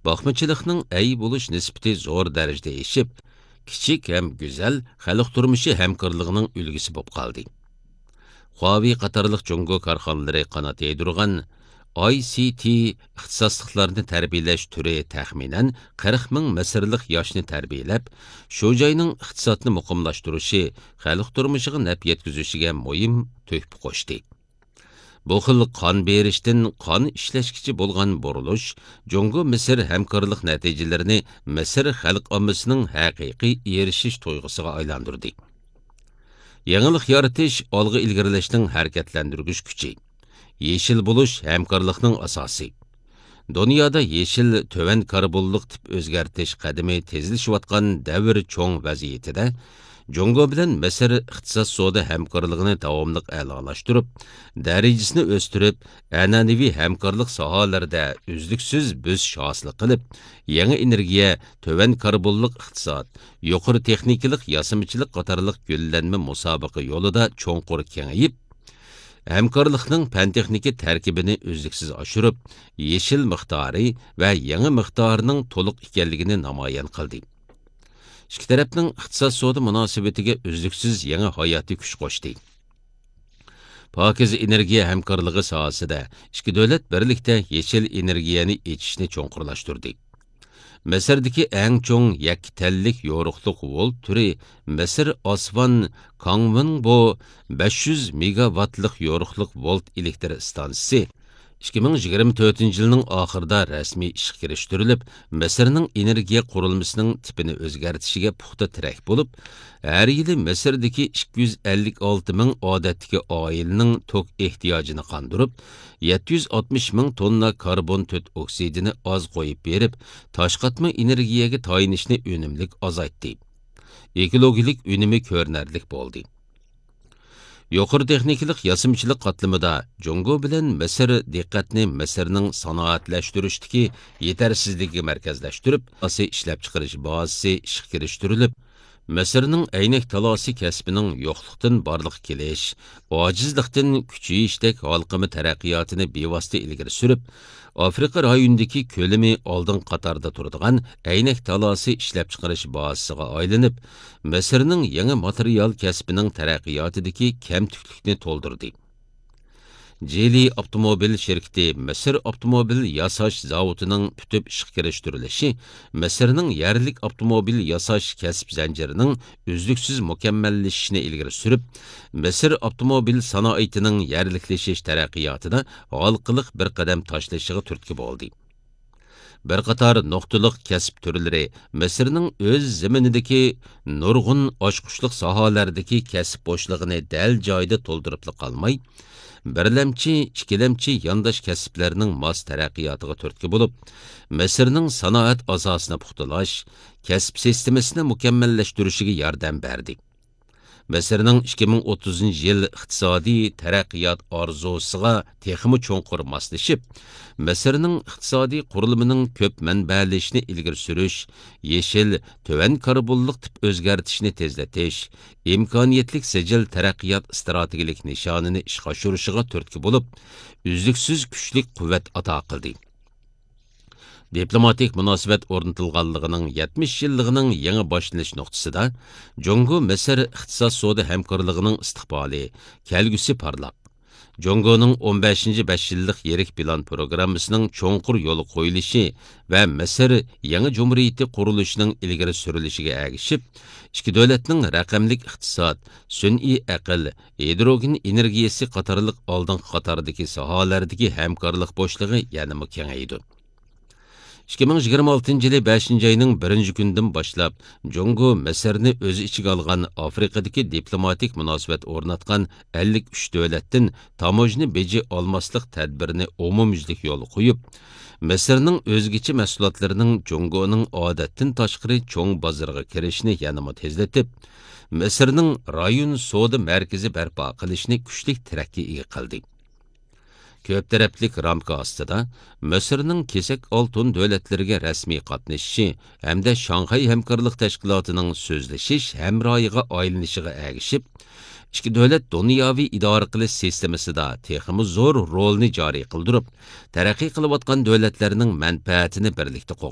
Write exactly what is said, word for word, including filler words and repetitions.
باقمىچىلىقنىڭ ئەي بولۇش نىسبىتى زور دەرىجىدە ئېشىپ، كىچىك ھەم گۈزەل خەلق تۇرمۇشى ھەمكارلىقىنىڭ ئۈلگىسى بولۇپ قالدى. خۇاۋېي قاتارلىق جۇڭگو كارخانىلىرى قانات يايدۇرغان ئاي سىي تىي ئىختىساسلىقلارنى تەربىيەلەش تۈرى تەخمىنەن قىرىق مىڭ مىسىرلىق ياشنى تەربىيەلەپ، شۇ جاينىڭ ئىقتىسادنى مۇقىملاشتۇرۇشى، خەلق تۇرمۇشىغا نەپ يەتكۈزۈشىگە مۇھىم تۆھپە قوشتى. بۇ خىل قان بېرىشتىن قان ئىشلەشكىچە بولغان بۇرۇلۇش جۇڭگو مىسىر ھەمكارلىق نەتىجىلىرىنى مىسىر خەلق ئاممىسىنىڭ ھەقىقىي ئېرىشىش تۇيغۇسىغا ئايلاندۇردى. يېڭىلىق يارىتىش ئالغا ئىلگىرىلەشنىڭ ھەرىكەتلەندۈرگۈچ كۈچى. يېشىل بولۇش ھەمكارلىقنىڭ ئاساسى. دۇنيادا يېشىل، تۆۋەن كاربونلۇق تىپ ئۆزگەرتىش قەدىمى تېزلىشىۋاتقان دەۋر چوڭ ۋەزىيىتىدە، جۇڭگو بىلەن مىسىر ئىقتىساد سودا ھەمكارلىقىنى داۋاملىق ئەلالاشتۇرۇپ، دەرىجىسىنى ئۆستۈرۈپ، ئەنئەنىۋى ھەمكارلىق ساھەلىرىدە ئۈزلۈكسىز بۆسۈش ھاسىل قىلىپ، يېڭى ئېنېرگىيە، تۆۋەن كاربونلۇق ئىقتىساد، يۇقىرى تېخنىكىلىق ياسىمىچىلىق قاتارلىق گۈللەنمە مۇسابىقە يولىدا چوڭقۇر كېڭىيىپ، ھەمكارلىقنىڭ پەن-تېخنىكا تەركىبىنى ئۈزلۈكسىز ئاشۇرۇپ، يېشىل مىقدارى ۋە يېڭى مىقدارىنىڭ تولۇق ئىكەنلىكىنى نامايان قىلدى. ئىككى تەرەپنىڭ ئىقتىساد-سودا مۇناسىۋىتىگە ئۈزلۈكسىز يېڭى ھاياتىي كۈچ قوشتى. پاكىز ئېنېرگىيە ھەمكارلىقى ساھەسىدە ئىككى دۆلەت بىرلىكتە يېشىل ئېنېرگىيەنى ئېچىشنى چوڭقۇرلاشتۇردى. مىسىردىكى ئەڭ چوڭ يەككە تەنلىك يورۇقلۇق ۋولت تۈرى مىسىر ئاسۋان كاڭۋېنبو بەش يۈز مېگاۋاتلىق يورۇقلۇق ۋولت ئېلېكتر ئىستانسىسى ئىككى مىڭ يىگىرمە تۆتىنچى يىلنىڭ ئاخىرىدا رەسمىي ئىشقا كىرىشتۈرۈلۈپ، مىسىرنىڭ ئېنېرگىيە قۇرۇلمىسىنىڭ تىپىنى ئۆزگەرتىشىگە پۇختا تىرەك بولۇپ، ھەر يىلى مىسىردىكى ئىككى يۈز ئەللىك ئالتە مىڭ ئادەتتىكى ئائىلىنىڭ توك ئېھتىياجىنى قاندۇرۇپ، يەتتە يۈز ئاتمىش مىڭ توننا كاربون تۆت ئوكسىدىنى ئاز قويۇپ بېرىپ، تاشقاتما ئېنېرگىيەگە تايىنىشنى ئۈنۈملۈك ئازايتتى. ئېكولوگىيەلىك ئۈنۈمى كۆرۈنەرلىك بولدى. يۇقىرى تېخنىكىلىق ياسىمىچىلىق قاتلىمىدا جۇڭگو بىلەن مىسىر دىققەتنى مىسىرنىڭ سانائەتلەشتۈرۈشتىكى يېتەرسىزلىكىگە مەركەزلەشتۈرۈپ، ئاساسىي ئىشلەپچىقىرىش بازىسى ئىشقا كىرىشتۈرۈلۈپ، مىسىرنىڭ ئەينەك تالاسى كەسپىنىڭ يوقلۇقتىن بارلىققا كېلىش، ئاجىزلىقتىن كۈچىيىشتەك ھالقىما تەرەققىياتىنى بىۋاسىتە ئىلگىرى سۈرۈپ، ئافرىقا رايونىدىكى كۆلىمى ئالدىنقى قاتاردا تۇرىدىغان ئەينەك تالاسى ئىشلەپچىقىرىش بازىسىغا ئايلىنىپ، مىسىرنىڭ يېڭى ماتېرىيال كەسپىنىڭ تەرەققىياتىدىكى كەمتۈكلۈكنى تولدۇردى. جىلى ئاپتوموبىل شىركىتى مىسىر ئاپتوموبىل ياساش زاۋۇتىنىڭ پۈتۈپ ئىشقا كىرىشتۈرۈلۈشى مىسىرنىڭ يەرلىك ئاپتوموبىل ياساش كەسىپ زەنجىرىنىڭ ئۈزلۈكسىز مۇكەممەللىشىشىنى ئىلگىرى سۈرۈپ، مىسىر ئاپتوموبىل سانائىتىنىڭ يەرلىكلىشىش تەرەققىياتىدا ھالقىلىق بىر قەدەم تاشلىشىغا تۈرتكە بولدى. بىر قاتار نۇقتىلىق كەسىپ تۈرلىرى مىسىرنىڭ ئۆز زېمىنىدىكى نۇرغۇن ئاچقۇچلۇق ساھەلەردىكى كەسىپ بوشلۇقىنى دەل جايىدا تولدۇرۇپلا قالماي، بىرلەمچى، ئىككىلەمچى يانداش كەسىپلەرنىڭ ماس تەرەققىياتىغا تۈرتكە بولۇپ، مىسىرنىڭ سانائەت ئاساسىنى پۇختىلاش، كەسىپ سىستېمىسىنى مۇكەممەللەشتۈرۈشىگە ياردەم بەردى. مىسىرنىڭ ئىككى مىڭ ئوتتۇزىنچى يىل ئىقتىسادىي تەرەققىيات ئارزۇسىغا تېخىمۇ چوڭقۇر ماسلىشىپ، مىسىرنىڭ ئىقتىسادىي قۇرۇلمىنىڭ كۆپ مەنبەلىشىشىنى ئىلگىرى سۈرۈش، يېشىل، تۆۋەن كاربونلۇق تىپ ئۆزگەرتىشنى تېزلىتىش، ئىمكانىيەتلىك سىجىل تەرەققىيات ئىستراتېگىيەلىك نىشانىنى ئىشقا ئاشۇرۇشىغا تۈرتكە بولۇپ، ئۈزلۈكسىز كۈچلۈك قۇۋۋەت ئاتا قىلدى. دىپلوماتىك مۇناسىۋەت ئورنىتىلغانلىقىنىڭ يەتمىش يىللىقىنىڭ يېڭى باشلىنىش نۇقتىسىدا، جۇڭگو مىسىر ئىقتىساد سودا ھەمكارلىقىنىڭ ئىستىقبالى، كەلگۈسى پارلاق. جۇڭگونىڭ ئون بەشىنچى بەش يىللىق يىرىك پىلان پروگراممىسىنىڭ چوڭقۇر يولغا قويۇلۇشى ۋە مىسىر يېڭى جۇمھۇرىيىتى قۇرۇلۇشىنىڭ ئىلگىرى سۈرۈلۈشىگە ئەگىشىپ، ئىككى دۆلەتنىڭ رەقەملىك ئىقتىساد، سۈنئىي ئەقىل، ھىدروگېن ئېنېرگىيەسى قاتارلىق ئالدىنقى قاتاردىكى ساھەلەردىكى ھەمكارلىق بوشلۇقى يەنىمۇ كېڭەيدۇ. ئىككى مىڭ يىگىرمە ئالتىنچى يىلى بەشىنچى ئاينىڭ بىرىنچى كۈنىدىن باشلاپ، جۇڭگو مىسىرنى ئۆز ئىچىگە ئالغان ئافرىقىدىكى دىپلوماتىك مۇناسىۋەت ئورناتقان ئەللىك ئۈچ دۆلەتتىن تاموژنا بېجى ئالماسلىق تەدبىرىنى ئومۇميۈزلۈك يولغا قويۇپ، مىسىرنىڭ ئۆزگىچە مەھسۇلاتلىرىنىڭ جۇڭگونىڭ ئادەتتىن تاشقىرى چوڭ بازىرىغا كىرىشىنى يەنىمۇ تېزلىتىپ، مىسىرنىڭ رايون سودا مەركىزى بەرپا قىلىشنى كۈچلۈك تىرەككە ئىگە قىلدى. كۆپ تەرەپلىك رامكا ئاستىدا مىسىرنىڭ كېسەك ئالتۇن دۆلەتلىرىگە رەسمىي قاتنىشىشى ھەمدە شاڭخەي ھەمكارلىق تەشكىلاتىنىڭ سۆزلىشىش ھەمراھىغا ئايلىنىشىغا ئەگىشىپ، ئىككى دۆلەت دۇنياۋى ئىدارە قىلىش سىستېمىسىدا تېخىمۇ زور رولنى جارى قىلدۇرۇپ، تەرەققىي قىلىۋاتقان دۆلەتلەرنىڭ مەنپەئەتىنى بىرلىكتە قوغداپ،